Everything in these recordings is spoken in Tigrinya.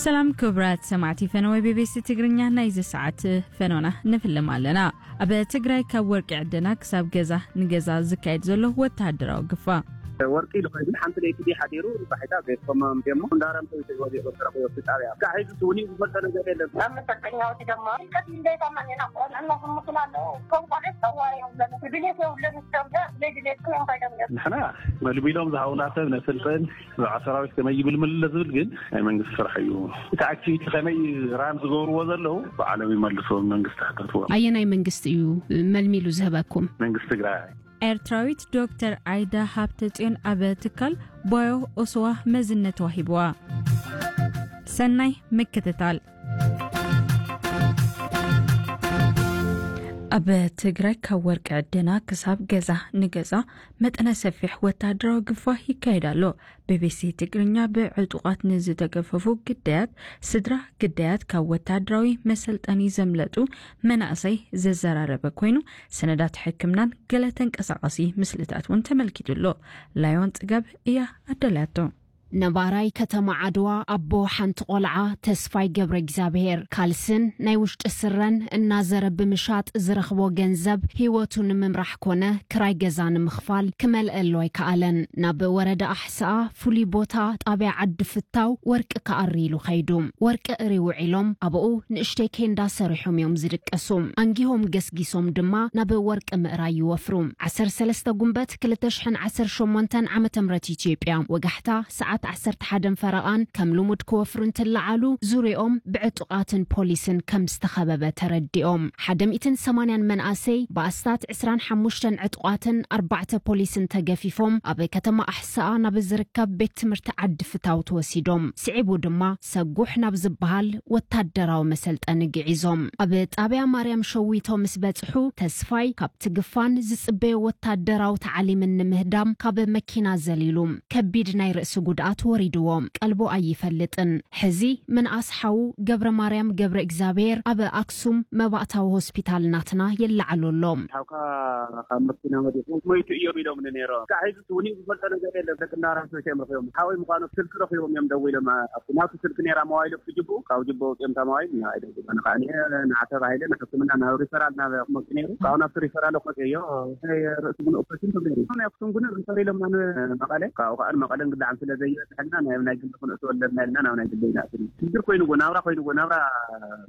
ሰላም ክቡራት ሰማዕቲ ፈነወ ቢቢሲ ትግርኛ፣ ናይዚ ሰዓት ፈኖና ንፍልም ኣለና። ኣብ ትግራይ ካብ ወርቂ ዕደና ክሳብ ገዛ ንገዛ ዝካየድ ዘሎ ወተሃደራዊ ግፋ። ወርቂ ኢሉ ኮይኑ ሓንቲ ለይቲ ድዩ ሓዲሩ ባሒታ ዘይኮመም ደሞ እንዳረም ተይወዲቑ ተረኺቡ ኣብቲ ጣብያ። ካብ ሕዚ እውን ዝፈልጦ ነገር የለን። ኣብ መሰልጠኛዎች ድማ ጭንቀት እንዳይታመን ኢና ቆልዕና ክምክል ኣለዉ። ከም ቆልዑ ጸዋሪ የብለን። ድሌት የብለን። ዝገብዳ ዘይድሌት እዮም ከይዶም እዮም። ንሕና መልሚሎም ዝሃቡና ሰብ ነስልጥን፣ ብዛዕባ ሰራዊት ከመይ ይብል ምልለ ዝብል ግን ናይ መንግስቲ ስራሕ እዩ። እቲ ኣክቲቪቲ ከመይ ራን ዝገብርዎ ዘለዉ ብዓለም ይመልሶ፣ መንግስቲ ክተትዎ። ኣየናይ መንግስቲ እዩ መልሚሉ ዝህበኩም? መንግስቲ ትግራይ። ኤርትራዊት ዶክተር ዓይዳ ሃብተጽዮን ኣብ ትካል ባዮ ኦስዋ መዝነት ተዋሂብዋ። ሰናይ ምክትታል። ኣብ ትግራይ ካብ ወርቂ ዕደና ክሳብ ገዛ ንገዛ መጠነ ሰፊሕ ወታደራዊ ግፋ ይካየድ ኣሎ። ቢቢሲ ትግርኛ ብዕጡቓት ንዝተገፈፉ ግዳያት፣ ስድራ ግዳያት ካብ ወታደራዊ መሰልጠኒ ዘምለጡ መናእሰይ ዘዘራረበ ኮይኑ፣ ሰነዳት ሕክምናን ገለ ተንቀሳቓሲ ምስልታት እውን ተመልኪቱ ኣሎ። ላዮን ጽጋብ እያ ኣዳልያቶ። ነባራይ ከተማ ዓድዋ ኣቦ ሓንቲ ቆልዓ ተስፋይ ገብረ እግዚኣብሔር ካልስን ናይ ውሽጢ ስረን እናዘረ ብምሻጥ ዝረኽቦ ገንዘብ ህይወቱ ንምምራሕ ኮነ ክራይ ገዛ ንምኽፋል ክመልአሉ ኣይከኣለን። ናብ ወረዳ ኣሕስኣ ፍሉይ ቦታ ጣብያ ዓዲ ፍታው ወርቂ ክኣሪ ኢሉ ኸይዱ። ወርቂ እሪ ውዒሎም ኣብኡ ንእሽተይ ኬንዳ ሰሪሖም እዮም ዝድቀሱ። ኣንጊሆም ገስጊሶም ድማ ናብ ወርቂ ምእራይ ይወፍሩ። ዓሰርተ ሰለስተ ጉንበት ክልተ ሽሕን ዓሰርተ ሸሞንተን ዓመተ ምህረት ኢትዮጵያ ወጋሕታ ሰዓት ዓሰርተ ሓደን ፈረቓን ከም ልሙድ ክወፍሩ እንትለዓሉ ዙሪኦም ብዕጡቓትን ፖሊስን ከም ዝተኸበበ ተረዲኦም። ሓደ ሚእትን ሰማንያን መናእሰይ ብኣስታት ዕስራን ሓሙሽተን ዕጡቓትን ኣርባዕተ ፖሊስን ተገፊፎም ኣብ ከተማ ኣሕስኣ ናብ ዝርከብ ቤት ትምህርቲ ዓዲ ፍታው ተወሲዶም። ስዒቡ ድማ ሰጉሕ ናብ ዝበሃል ወታደራዊ መሰልጠኒ ግዒዞም። ኣብ ጣብያ ማርያም ሸዊቶ ምስ በጽሑ ተስፋይ ካብ ትግፋን ዝጽበዮ ወታደራዊ ታዕሊምን ንምህዳም ካብ መኪና ዘሊሉ ከቢድ ናይ ርእሲ ጉድኣት ወሪድዎ። ቀልቦ ኣይፈልጥን። ሕዚ ምንኣስ ሓዉ ገብረ ማርያም ገብረ እግዚኣብሔር ኣብ ኣክሱም መባእታዊ ሆስፒታል ናትና ይለዓሉ ኣሎ። ሓውካ ካብ መኪና ወዲቑ ሞይቱ እዮም ኢሎምኒ ነይሮም። ካብ ሕዚ እውን ዝፈልጦ ነገር የለን። ደቂ እንዳራም ሰዎች እዮም ረኺቦም። ሓወይ ምዃኑ ስልኪ ረኺቦም እዮም ደዊሎም። ኣብቲ ናቱ ስልኪ ነይራ መዋይሉ ክጅቡ ካብ ጅቦ ውፅኦም እታ መዋይል ንዓይ ደዊሎም። ኣነ ከዓ ንዓ ተባሂለ ንሕክምና ናብ ሪፈራል ናብ ክመፁ ነይሩ። ካብኡ ናብቲ ሪፈራል ክመፅዮ ርእሲ ግን ኦፕሬሽን ተገይሩ። ናይ ኣክሱም ግን ሪፈር ኢሎምና ንመቐለ። ካብኡ ከዓ ንመቐለ እንግዳዓም ስለ ዘይበፅሐልና ናይ ናይ ግሊ ክንእትወለና ኢልና ናብ ናይ ግሊ ኢና ኣቲና። ሽግር ኮይኑዎ ናብራ ኮይኑዎ ናብራ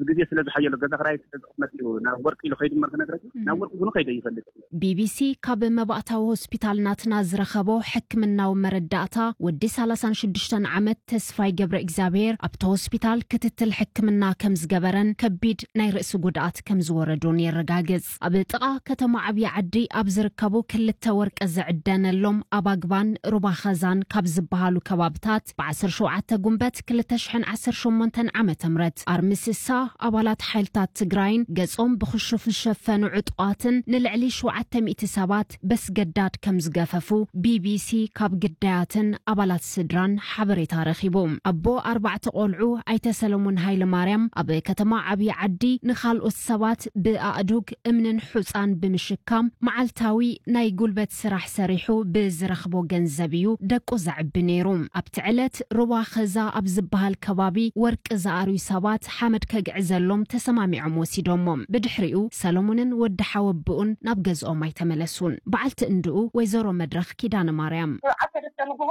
ብግዜ ስለ ዝሓየሎ ገዛ ክራይ ስለ ዝቕመጥ እዩ ናብ ወርቂ ኢሉ ከይዱ እምበር ክነግረኪ ናብ ወርቂ ግን ከይደ ይፈልጥ። ቢቢሲ ካብ መባእታዊ ሆስፒታል ናትና ዝረኸቦ ሕክምናዊ መረዳእታ ወዲ ሰላሳን ሽዱሽተን ዓመት ተስፋይ ገብረ እግዚኣብሔር ኣብቲ ሆስፒታል ክትትል ሕክምና ከም ዝገበረን ከቢድ ናይ ርእሲ ጉድኣት ከም ዝወረዶን የረጋግጽ። ኣብ ጥቓ ከተማ ዓብዪ ዓዲ ኣብ ዝርከቡ ክልተ ወርቂ ዝዕደነሎም ኣብ ኣግባን ሩባ ኸዛን ካብ ዝበሃሉ ከባብታት ብዓሰርተ ሸውዓተ ጉንበት ክልተ ሽሕን ዓሰርተ ሸሞንተን ዓመተ ምህረት ኣርሚ ስሳ ኣባላት ሓይልታት ትግራይን ገጾም ብክሹፍ ዝሸፈኑ ዕጡቓትን ንልዕሊ ሸውዓተ ሚእቲ ሰባት በስገዳድ ከም ዝገፈፉ ቢቢሲ ካብ ግዳያትን ኣባላት ስድራን ሓበሬታ ረኺቡ። ኣቦ ኣርባዕተ ቆልዑ ኣይተ ሰለሙን ሃይለ ማርያም ኣብ ከተማ ዓብዪ ዓዲ ንኻልኦት ሰባት ብኣእዱግ እምንን ሑፃን ብምሽካም መዓልታዊ ናይ ጉልበት ስራሕ ሰሪሑ ብዝረኽቦ ገንዘብ እዩ ደቁ ዘዕቢ ነይሩ። ኣብቲ ዕለት ሩባ ኸዛ ኣብ ዝበሃል ከባቢ ወርቂ ዝኣርዩ ሰባት ሓመድ ከግዕዘሎም ተሰማሚዖም ወሲዶሞ። ብድሕሪኡ ሰለሙንን ወዲ ሓወብኡን ናብ ገዝኦም ኣይተመለሱን። በዓልቲ እንድኡ ወይዘሮ መድረኽ ኪዳነ ማርያም። ዓሰርተ ንግሆ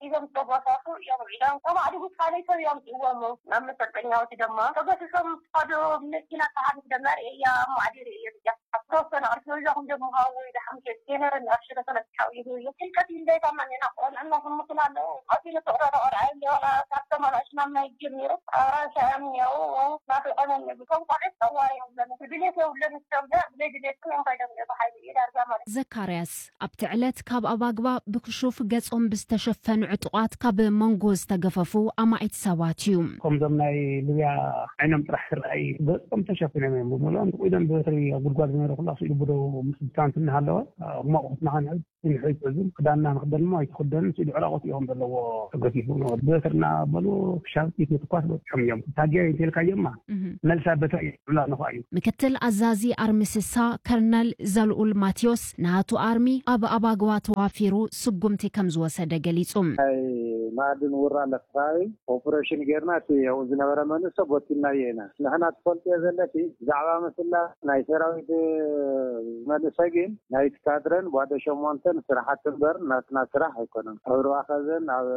ሒዞም ዝተጓሳሱ እዮም ውዒሎም። ከም ኣድጉት ካልእ ሰብ እዮም ጽወሙ። ናብ መሰልጠኛዎች ድማ ተገሲሶም ዝኸዱ መኪና ተሓሊፍ ደመር እያ እሞ ኣዲር እየ ዝያ። ዝተወሰነ ቅርሲ ወይዛኹም ደሞ ሃዊ ደሓምሸ ቴነር ናብ ሽረ ተለጥሓው ይህዩ። ጭንቀት እንዳይታመን ኢና ቆልዕና ክምክል ኣለዉ። ቀቲሉ ትቕረረ ቆልዓ እንዲሆነ ካብ ተመላሽ ናብ ናይ ጀሚሩ ኣራሻ እዮም እኒአው። ናፍቆም እዮም። ከም ቆልዑ ጸዋሪ እዮም ዘለ። ድሌት የብለን። ዝገብዳ ብዘይ ድሌት እዮም ከይዶም እዮም። ብሓይሊ እዩ ዳርጋ ማለት። ዘካርያስ ኣብቲ ዕለት ካብ ኣባግባ ብክሹፍ ገጾም ብዝተሸፈኑ ዕጡቓት ካብ መንጎ ዝተገፈፉ ኣማኢት ሰባት እዩ። ከምዞም ናይ ሊብያ ዓይኖም ጥራሕ ክረኣይ ገጾም ተሸፊኖም እዮም ብምልኦም ኢዶም ብትሪ ኣብ ጉድጓድ ዝነበረ ኩሉ ኣስኢሉ ብደው ምስ ብታንት እናሃለወ፣ ሕማቕ ኩትና ክንዕብ ንሕጂ ሕዚ ክዳንና ንክደን እሞ ኣይትኽደንን፣ ስኢሉ ዕራቆት እዮም ዘለዎ ተገፊፉ። በትርና በሉ ክሻብ ጥይት ምትኳስ በፅሖም እዮም። ታጊያ እንተልካዮማ እህ። መልሳ በትሪ ይብላ ነኹ እዩ። ምክትል ኣዛዚ ኣርሚ ስሳ ከርነል ዘልኡል ማቴዎስ፣ ናቱ ኣርሚ ኣብ ኣባግዋ ተዋፊሩ ስጉምቲ ከም ዝወሰደ ገሊጹ። ናይ ማዕድን ውራ ለፍራዊ ኦፕሬሽን ጌርና፣ እቲ ኣብኡ ዝነበረ መንእሰ ቦቲናዮ ኢና። ንሕና ትፈልጥዮ ዘለኪ፣ ብዛዕባ ምስላ ናይ ሰራዊት መንእሰ ግን ናይቲ ካድረን ጓደ ሸሞንተን ስራሓት እምበር ናትና ስራሕ ኣይኮነን። ኣብ ሩባ ከዘን ኣብ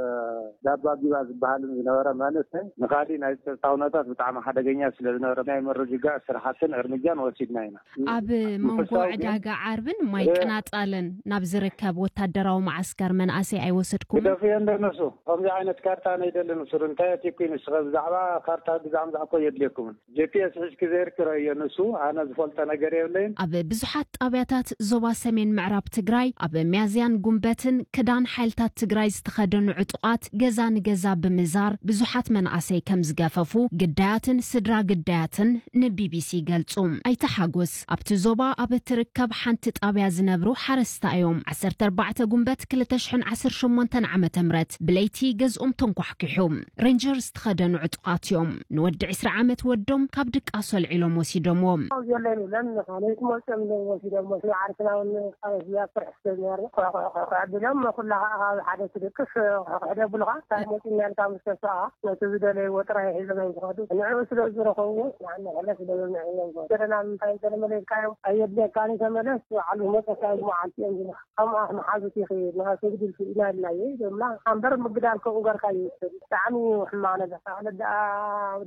ዳባ ጊባ ዝበሃልን ዝነበረ መንእሰ ንኻሊ ናይ ጸጥታ ኩነታት ብጣዕሚ ሓደገኛ ስለ ዝነበረ ናይ ምርግጋእ ስራሓትን እርምጃን ወሲድና ኢና። ኣብ መንጎ ምፍሳው ግን ዕዳጋ ዓርብን ማይ እ- ቅናጣልን ናብ ዝርከብ ወታደራዊ መዓስከር መናእሰይ ኣይወሰድኩምን? ግደፍዮ እንደ ንሱ። ከምዚ ዓይነት ካርታ ነይደልን ሱር። እንታይ ኣትኩ ንስኸ ብዛዕባ ካርታ ግዛዕ ምዛዕ እኮ የድልየኩምን። ጂ ፒ ኤስ ሒዝኪ ዘይርክረዮ ንሱ፣ ኣነ ዝፈልጦ ነገር የብለይን። ኣብ ብዙሓት ጣብያታት ዞባ ሰሜን ምዕራብ ትግራይ ኣብ ሚያዝያን ጉንበትን ክዳን ሓይልታት ትግራይ ዝተኸደኑ ዕጡቓት ገዛ ንገዛ ብምዛር ብዙሓት መናእሰይ ከም ዝገፈፉ ግዳያትን ስድራ ግዳያትን ን ቢ ቢ ሲ ይገልጹ። ኣይተ ሓጎስ ኣብቲ ዞባ ኣብ እትርከብ ሓንቲ ጣብያ ዝነብሩ ሓረስታይ እዮም። ዓሰርተ ኣርባዕተ ጉንበት ክልተ ሽሕን ዓሰርተ ሸሞንተን ዓመተ ምህረት ብለይቲ ገዝኦም ተንኳሕኪሑ። ሬንጀርስ ዝተኸደኑ ዕጡቓት እዮም ንወዲ ዕስራ ዓመት ወዶም ካብ ድቃሱ ኣልዒሎም ወሲዶምዎ። ኣብዚ የለን ይብለን፣ ለይቲ መፅኦም ኢሎም ወሲዶምዎ። ዓርስና እውን ኣብ እዚኣ ፍርሒ ስለ ዝነበረ፣ ኮሕ ኮሕ ኮሕ ኮሕ ኣቢሎም፣ ኩላ ከዓ ኣብ ሓደ ትድቅስ፣ ኮሕ ኮሕ ደብሉኻ፣ እንታይ መፂና ኢልካ ምስ ተሰኣ፣ ነቲ ዝደለይዎ ጥራይ ሒዞም እዮም ዝኸዱ። ንዕኡ ስለ ዝረኸብዎ፣ ንዓና ሕነ ስለ ዘምዕዮም፣ ገለና ምንታይ ገለ መለስካዮም፣ ኣየድልየካን እዩ፣ ተመለስ፣ በዓሉ መፀካ መዓልቲ እዮም ዝብሉኻ። ከምኣ መሓዙት ይኽእል፣ ንኻ ትግድል ስኢና ኢልናዮ፣ ይብሉና። ኣምበር ምግዳል ከምኡ ገርካ ይውሰድ። ብጣዕሚ እዩ ሕማቕ ነገር። ኣነ ደኣ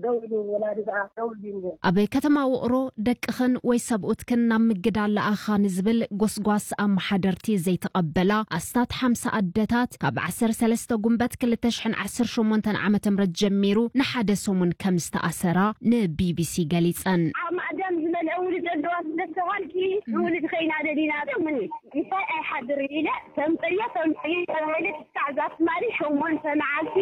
ደው ኢሉ፣ ወላዲ ደኣ ደው ኢሉ እዩ። ኣብ ከተማ ውቕሮ ደቅኽን ወይ ሰብኡትክን ናብ ምግዳል ለኣኻ ንዝብል ጎስጓስ ኣመሓደርቲ ዘይተቐበላ ኣስታት ሓምሳ ኣደታት፣ ካብ ዓሰርተ ሰለስተ ጉንበት ክልተ ሽሕን ዓሰርተ ሸሞንተን ዓመተ ምህረት ጀሚሩ ንሓደ ሰሙን ከም ዝተኣሰራ ን ቢ ቢ ሲ ገሊጸን። ኣብ ማእዳን ዝመልአ ውሉድ ኣለዋ ስለ ዝተባልኪ፣ ንውሉድ ከይና ደሊና ዶ ምን እንታይ ኣይሓድር ኢለ፣ ተምፀዮ፣ ተምፀዮ ተባሂለ፣ ክሳዕ ዛትማሊ ሸሞንተ መዓልቲ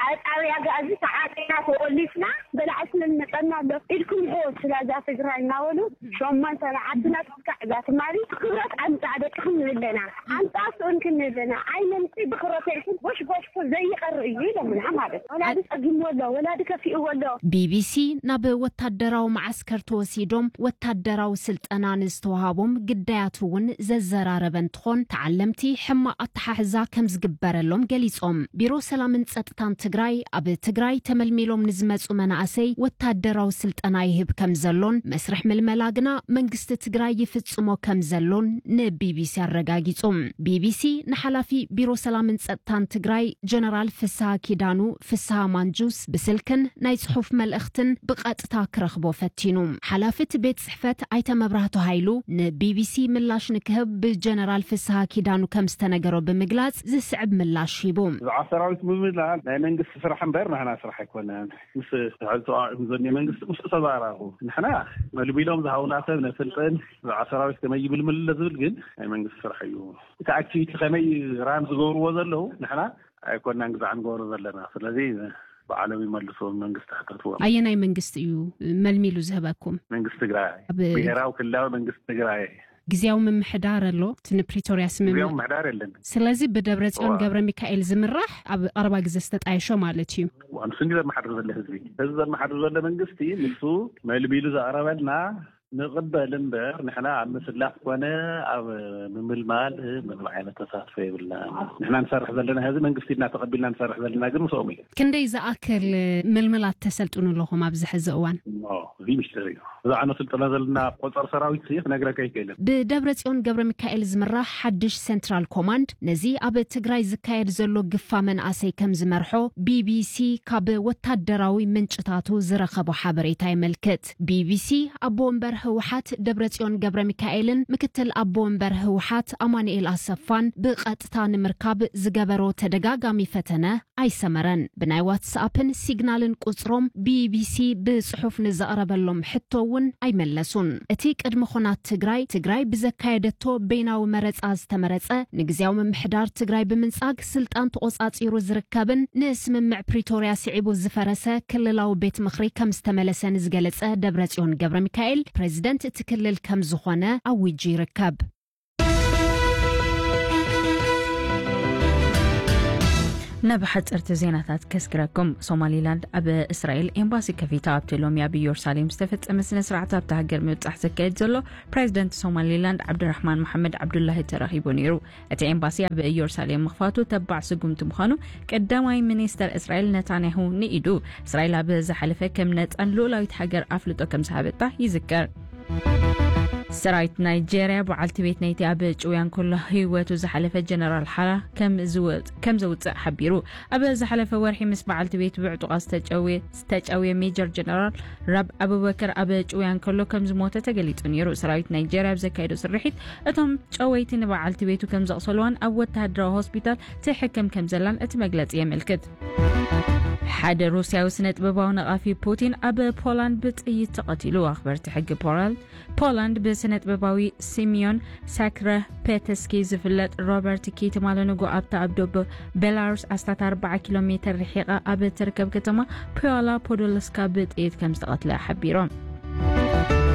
ኣብ ጣብያ ጋዚ ተዓፂና ተቆሊፍና፣ በላዕቲ መመፀና ኣሎ ኢልኩም ኢኹም ስላዛ ትግራይ እናበሉ፣ ሸሞንተ መዓልትና ክሳዕ ዛትማሊ ክብረት ኣምፃእ ደቅኹም ንብለና። ኣምፃእ ስኡን ክንብለና፣ ኣይነምፂ ብክብረት ኢልኩም ጎሽ ጎሽ ዘይቀር እዩ ኢሎምና ማለት። ወላዲ ጸጊምዎ ኣሎ፣ ወላዲ ከፊእዎ ኣሎ። ቢ ቢ ሲ ናብ ወታደራዊ መዓስከር ተወሲዶም ወታደራዊ ስልጠና ንዝተዋሃቦም ግዳያት እውን ዘዘራረበ እንትኾን፣ ተዓለምቲ ሕማቕ ኣተሓሕዛ ከም ዝግበረሎም ገሊጾም። ቢሮ ሰላምን ጸጥታን ትግራይ ኣብ ትግራይ ተመልሚሎም ንዝመጹ መናእሰይ ወታደራዊ ስልጠና ይህብ ከም ዘሎን መስርሕ ምልመላ ግና መንግስቲ ትግራይ ይፍጽሞ ከም ዘሎን ን ቢ ቢ ሲ ኣረጋጊጹ። ቢ ቢ ሲ ንሓላፊ ቢሮ ሰላምን ጸጥታን ትግራይ ጀነራል ፍስሃ ኪዳኑ ፍስሃ ማንጁስ ብስልክን ናይ ጽሑፍ መልእኽትን ብቐጥታ ክረኽቦ ፈቲኑ። ሓላፊ እቲ ቤት ጽሕፈት ኣይተ መብራህቱ ሃይሉ ን ቢ ቢ ሲ ምላሽ ንክህብ ብጀነራል ፍስሃ ኪዳኑ ከም ዝተነገሮ ብምግላጽ ዝስዕብ ምላሽ ሂቡ። ብዛዕባ ሰራዊት ምምላስ ናይ መንግስቲ ስራሕ እምበር ናህና ስራሕ ኣይኮነን። ምስ ትሕቲ ተቓዋሚ ዘሎ መንግስቲ ምስ ተዘራረቡ ንሕና መልሚሎም ዝሃቡና ሰብ ነስልጥን፣ ብዛዕባ ሰራዊት ከመይ ይምልምል ዝብል ግን ናይ መንግስቲ ስራሕ እዩ። እቲ ኣክቲቪቲ ከመይ ራን ዝገብርዎ ዘለዉ ንሕና ኣይኮናን ግዛዕ ንገብሮ ዘለና። ስለዚ ባዕሎም ይመልሱ፣ መንግስቲ ሕተትዎም። ኣየናይ መንግስቲ እዩ መልሚሉ ዝህበኩም? መንግስቲ ትግራይ፣ ኣብ ብሄራዊ ክልላዊ መንግስቲ ትግራይ። ግዝያዊ ምምሕዳር ኣሎ፣ እቲ ንፕሪቶርያ ስምምዕ። ግዝያዊ ምምሕዳር የለን። ስለዚ ብደብረ ጽዮን እዋ። ገብረ ሚካኤል ዝምራሕ ኣብ ቀረባ ግዜ ዝተጣየሾ ማለት እዩ። እዋ፣ ንሱ እንዲ ዘመሓድር ዘሎ ህዝቢ፣ ህዝቢ ዘመሓድር ዘሎ መንግስቲ ንሱ መልሚሉ ዘቕረበልና ንቕበል እምበር፣ ንሕና ኣብ ምስላፍ ኮነ ኣብ ምምልማል ምንም ዓይነት ተሳትፎ የብልናን። ንሕና ንሰርሕ ዘለና፣ ሕዚ መንግስቲ ኢልና ተቐቢልና ንሰርሕ ዘለና ግን ምስኦም እዩ። ክንደይ ዝኣክል ምልምላት ተሰልጥኑ ኣለኹም ኣብዚ ሕዚ እዋን? እሞ፣ እዚ ሚስጥር እዩ። ብዛዕባ ነስልጥኖ ዘለና ቆጸር ሰራዊት ሲ ክነግረካ ኣይክእልን። ብደብረጽዮን ገብረ ሚካኤል ዝምራሕ ሓድሽ ሴንትራል ኮማንድ፣ ነዚ ኣብ ትግራይ ዝካየድ ዘሎ ግፋ መናእሰይ ከም ዝመርሖ ቢ ቢ ሲ ካብ ወታደራዊ ምንጭታቱ ዝረኸቦ ሓበሬታ የመልክት። ቢ ቢ ሲ ኣቦ ወንበር ህወሓት ደብረጽዮን ገብረ ሚካኤልን ምክትል ኣቦ ወንበር ህወሓት ኣማኑኤል ኣሰፋን ብቐጥታ ንምርካብ ዝገበሮ ተደጋጋሚ ፈተነ ኣይሰመረን። ብናይ ዋትስኣፕን ሲግናልን ቁጽሮም ቢ ቢ ሲ ብጽሑፍ ንዘቕረበሎም ሕቶ እውን ኣይመለሱን። እቲ ቅድሚ ኹናት ትግራይ፣ ትግራይ ብዘካየደቶ በይናዊ መረጻ ዝተመረጸ ንግዝያዊ ምምሕዳር ትግራይ ብምንጻግ ስልጣን ተቖጻጺሩ ዝርከብን ንስምምዕ ፕሪቶርያ ስዒቡ ዝፈረሰ ክልላዊ ቤት ምኽሪ ከም ዝተመለሰ ንዝገለጸ ደብረጽዮን ገብረ ሚካኤል፣ ፕሬዚደንት እቲ ክልል ከም ዝኾነ ኣዊጁ ይርከብ። ናብ ሓፀርቲ ዜናታት ከስግረኩም። ሶማሊላንድ ኣብ እስራኤል ኤምባሲ ከፊታ። ኣብቲ ሎሚ ኣብ ኢየሩሳሌም ዝተፈጸመ ስነ ስርዓት ኣብታ ሃገር ምብጻሕ ዘካየድ ዘሎ ፕሬዚደንት ሶማሊላንድ ዓብዱራሕማን መሓመድ ዓብዱላሂ ተረኺቡ ነይሩ። እቲ ኤምባሲ ኣብ ኢየሩሳሌም ምኽፋቱ ተባዕ ስጉምቲ ምዃኑ ቀዳማይ ሚኒስተር እስራኤል ነታንያሁ ንኢዱ። እስራኤል ኣብ ዝሓለፈ ከም ነጻን ልኡላዊት ሃገር ኣፍልጦ ከም ዝሃበታ ይዝከር። ሰራዊት ናይጄርያ በዓልቲ ቤት ናይቲ ኣብ ጭውያን ከሎ ህይወቱ ዝሓለፈ ጀነራል ሓራ ከም ዝወ-፣ ከም ዘውፅእ ሓቢሩ። ኣብ ዝሓለፈ ወርሒ ምስ በዓልቲ ቤት ብዕጡቓት ዝተጨውየ፣ ዝተጨውየ ሜጀር ጀነራል ራብ ኣቡበከር ኣብ ጭውያን ከሎ ከም ዝሞተ ተገሊጹ ነይሩ። ሰራዊት ናይጄርያ ኣብ ዘካየዶ ስርሒት እቶም ጨወይቲ ንበዓልቲ ቤቱ ከም ዘቕሰልዋን ኣብ ወተሃደራዊ ሆስፒታል ትሕከም ከም ዘላን እቲ መግለጺ የመልክት። ሓደ ሩስያዊ ስነ ጥበባዊ ነቓፊ ፑቲን ኣብ ፖላንድ ብጥይት ተቐቲሉ። ኣኽበርቲ ሕጊ ፖላንድ፣ ፖላንድ ብስነ ጥበባዊ ሲሚዮን ሳክረፔተስኪ ዝፍለጥ ሮበርት ኪትማለንጎ ኣብታ ኣብ ደቡብ ቤላሩስ ኣስታት ኣርብዓ ኪሎ ሜተር ርሒቓ ኣብ እትርከብ ከተማ ፒዋላ ፖዶልስካ ብጥይት ከም ዝተቐትለ ሓቢሮም።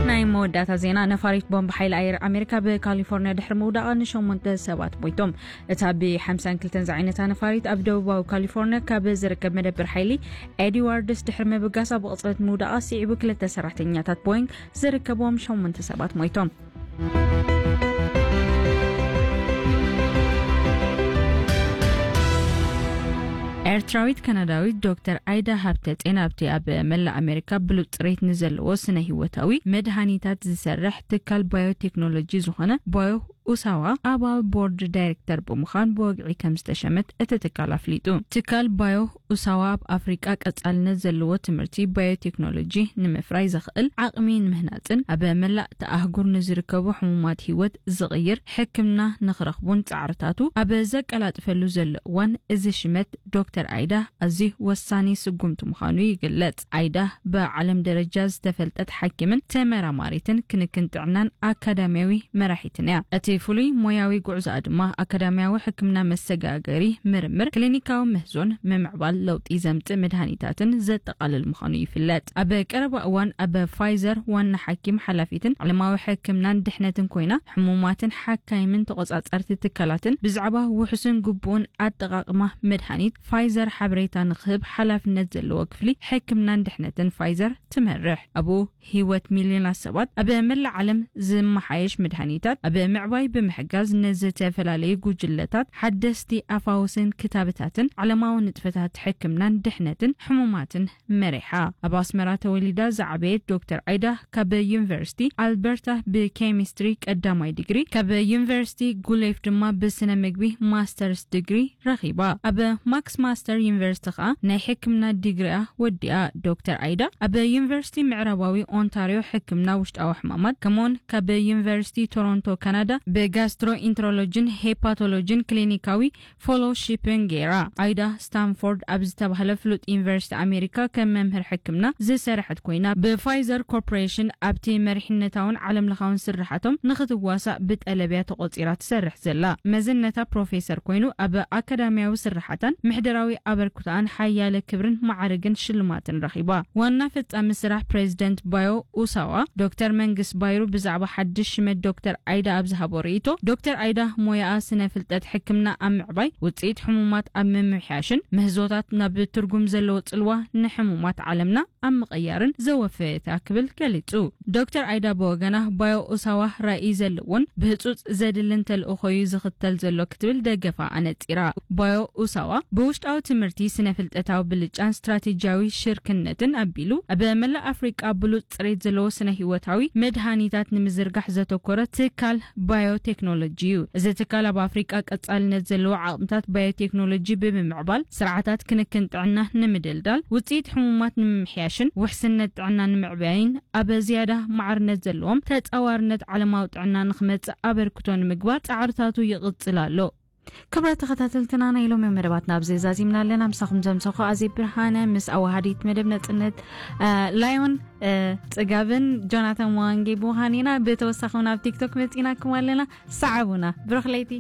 ናይ መወዳእታ ዜና፣ ነፋሪት ቦምብ ሓይሊ ኣየር ኣሜሪካ ብካሊፎርኒያ ድሕሪ ምውዳቓ ንሸሞንተ ሰባት ሞይቶም። እታ ብ ሓምሳን ክልተን ዝዓይነታ ነፋሪት ኣብ ደቡባዊ ካሊፎርኒያ ካብ ዝርከብ መደብር ሓይሊ ኤድዋርድስ ድሕሪ ምብጋሳ ብቕጽበት ምውዳቓ ስዒቡ ክልተ ሰራሕተኛታት ቦይንግ ዝርከብዎም ሸሞንተ ሰባት ሞይቶም። ኤርትራዊት ካናዳዊት ዶክተር ኣይዳ ሃብተ ጼን ኣብቲ ኣብ መላእ ኣሜሪካ ብሉጽ ጽሬት ንዘለዎ ስነ ህይወታዊ መድሃኒታት ዝሰርሕ ትካል ባዮቴክኖሎጂ ዝኾነ ባዮ ኡሳዋ ኣባል ቦርድ ዳይሬክተር ብምዃን ብወግዒ ከም ዝተሸመት እቲ ትካል ኣፍሊጡ። ትካል ባዮ ኡሳዋ ኣብ ኣፍሪቃ ቀጻልነት ዘለዎ ትምህርቲ ባዮቴክኖሎጂ ንምፍራይ ዘኽእል ዓቕሚ ንምህናጽን ኣብ መላእ እታ ኣህጉር ንዝርከቡ ሕሙማት ህይወት ዝቕይር ሕክምና ንኽረኽቡን ጻዕርታቱ ኣብ ዘቀላጥፈሉ ዘሎ እዋን፣ እዚ ሽመት ዶክተር ኣይዳ ኣዝዩ ወሳኒ ስጉምቲ ምዃኑ ይግለጽ። ኣይዳ ብዓለም ደረጃ ዝተፈልጠት ሓኪምን ተመራማሪትን ክንክን ጥዕናን ኣካዳሚያዊ መራሒትን እያ። እቲ ፍሉይ ሞያዊ ጉዕዞኣ ድማ ኣካዳሚያዊ ሕክምና፣ መሰጋገሪ ምርምር፣ ክሊኒካዊ ምህዞን ምምዕባል ለውጢ ዘምጽእ መድሃኒታትን ዘጠቓልል ምዃኑ ይፍለጥ። ኣብ ቀረባ እዋን ኣብ ፋይዘር ዋና ሓኪም ሓላፊትን ዓለማዊ ሕክምናን ድሕነትን ኮይና፣ ሕሙማትን ሓካይምን ተቖጻጸርቲ ትካላትን ብዛዕባ ውሑስን ግቡእን ኣጠቓቕማ መድሃኒት ፋይዘር ሓበሬታ ንኽህብ ሓላፍነት ዘለዎ ክፍሊ ሕክምናን ድሕነትን ፋይዘር ትመርሕ። ኣብኡ ህይወት ሚልዮናት ሰባት ኣብ መላእ ዓለም ዝመሓየሽ መድሃኒታት ኣብ ምዕባይ ብምሕጋዝ፣ ንዝተፈላለዩ ጉጅለታት ሓደስቲ ኣፋውስን ክታበታትን ዓለማዊ ንጥፈታት ሕክምናን ድሕነትን ሕሙማትን መሪሓ። ኣብ ኣስመራ ተወሊዳ ዝዓበየት ዶክተር ኣይዳ፣ ካብ ዩኒቨርሲቲ ኣልበርታ ብኬሚስትሪ ቀዳማይ ዲግሪ፣ ካብ ዩኒቨርሲቲ ጉሌፍ ድማ ብስነ ምግቢ ማስተርስ ዲግሪ ረኺባ። ኣብ ማክስ ማስተር ዩኒቨርሲቲ ኸኣ ናይ ሕክምና ዲግሪኣ ወዲኣ። ዶክተር ኣይዳ ኣብ ዩኒቨርሲቲ ምዕራባዊ ኦንታሪዮ ሕክምና ውሽጣዊ ሕማማት፣ ከምኡውን ካብ ዩኒቨርሲቲ ቶሮንቶ ካናዳ ብጋስትሮኢንትሮሎጂን ሄፓቶሎጂን ክሊኒካዊ ፎሎሺፕን ገይራ። ኣይዳ ስታንፎርድ ኣብ ዝተባህለ ፍሉጥ ዩኒቨርሲቲ ኣሜሪካ ከም መምህር ሕክምና ዝሰርሐት ኮይና፣ ብፋይዘር ኮርፖሬሽን ኣብቲ መሪሕነታውን ዓለምለኻውን ስርሓቶም ንኽትዋሳእ ብጠለብያ ተቖጺራ ትሰርሕ ዘላ። መዝነታ ፕሮፌሰር ኮይኑ፣ ኣብ ኣካዳሚያዊ ስርሓታን ምሕደራዊ ኣበርክቶኣን ሓያለ ክብርን ማዕርግን ሽልማትን ረኺባ። ዋና ፈጻሚ ስራሕ ፕሬዚደንት ባዮ ኡሳዋ ዶክተር መንግስት ባይሩ ብዛዕባ ሓድሽ ሽመት ዶክተር ኣይዳ ኣብ ዝሃቦ ርእይቶ፣ ዶክተር ኣይዳ ሞያኣ ስነ ፍልጠት ሕክምና ኣብ ምዕባይ፣ ውጽኢት ሕሙማት ኣብ ምምሕያሽን ምህዞታት ናብ ትርጉም ዘለዎ ጽልዋ ንሕሙማት ዓለምና ኣብ ምቕያርን ዘወፈየት እያ ክብል ገሊጹ። ዶክተር ኣይዳ ብወገና፣ ባዮ ኡሳዋ ራእይ ዘለዎን ብህጹጽ ዘድልን ተልእኾ እዩ ዝኽተል ዘሎ ክትብል ደገፋ ኣነጺራ። ባዮ ኡሳዋ ብውሽጣዊ ትምህርቲ፣ ስነ ፍልጠታዊ ብልጫን ስትራቴጂያዊ ሽርክነትን ኣቢሉ፣ ኣብ መላእ ኣፍሪቃ ብሉጽ ጽሬት ዘለዎ ስነ ህይወታዊ መድሃኒታት ንምዝርጋሕ ዘተኮረ ትካል ባዮቴክኖሎጂ እዩ። እዚ ትካል ኣብ ኣፍሪቃ ቀጻልነት ዘለዎ ዓቕምታት ባዮቴክኖሎጂ ብምምዕባል፣ ስርዓታት ክንክን ጥዕና ንምድልዳል፣ ውጽኢት ሕሙማት ንምምሕያሽን ውሕስነት ጥዕና ንምዕባይን ኣብ ዝያዳ ማዕርነት ዘለዎም ተጻዋርነት ዓለማዊ ጥዕና ንኽመጽእ ኣበርክቶ ንምግባር ጻዕርታቱ ይቕጽል ኣሎ። ክብራት ተኸታተልትና፣ ናይ ሎሚ መደባትና ኣብዚ ዛዚምና ኣለና። ምሳኹም ዘምሰኹ ኣዜ ብርሃነ ምስ ኣዋሃዲት መደብ ነጽነት፣ እ፣ ላዮን፣ እ፣ ጽጋብን ጆናታን ዋንጌ ብምዃን ኢና። ብተወሳኺ እውን ኣብ ቲክቶክ መጺናኩም ኣለና። ሰዓቡና። ብሩኽ ለይቲ።